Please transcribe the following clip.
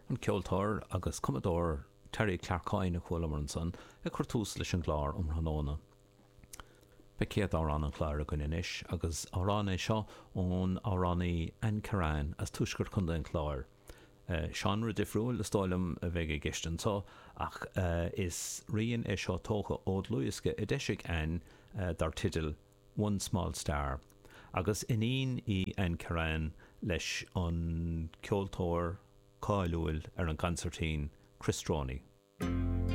An ceoltóir agus cumadóir Terry Clarke Coyne a chualamar ansan ag cur tús leis an gclár um thráthnóna. Beidh céad amhrán an chláir againn anois agus amhrán é seo ón amhránaí Ann Kirrane as tuaisceart Chontae an Chláir. Seánra difriúil is dóigh liom a bheidh i gceist anso ach is rian é seo tógtha ó dhlúthdhiosca a d'eisigh Ann dar teideal One Small Star. Agus iníon í Ann Kirrane leis an ceoltóir cáiliúil ar an gconsairtín Chris Droney.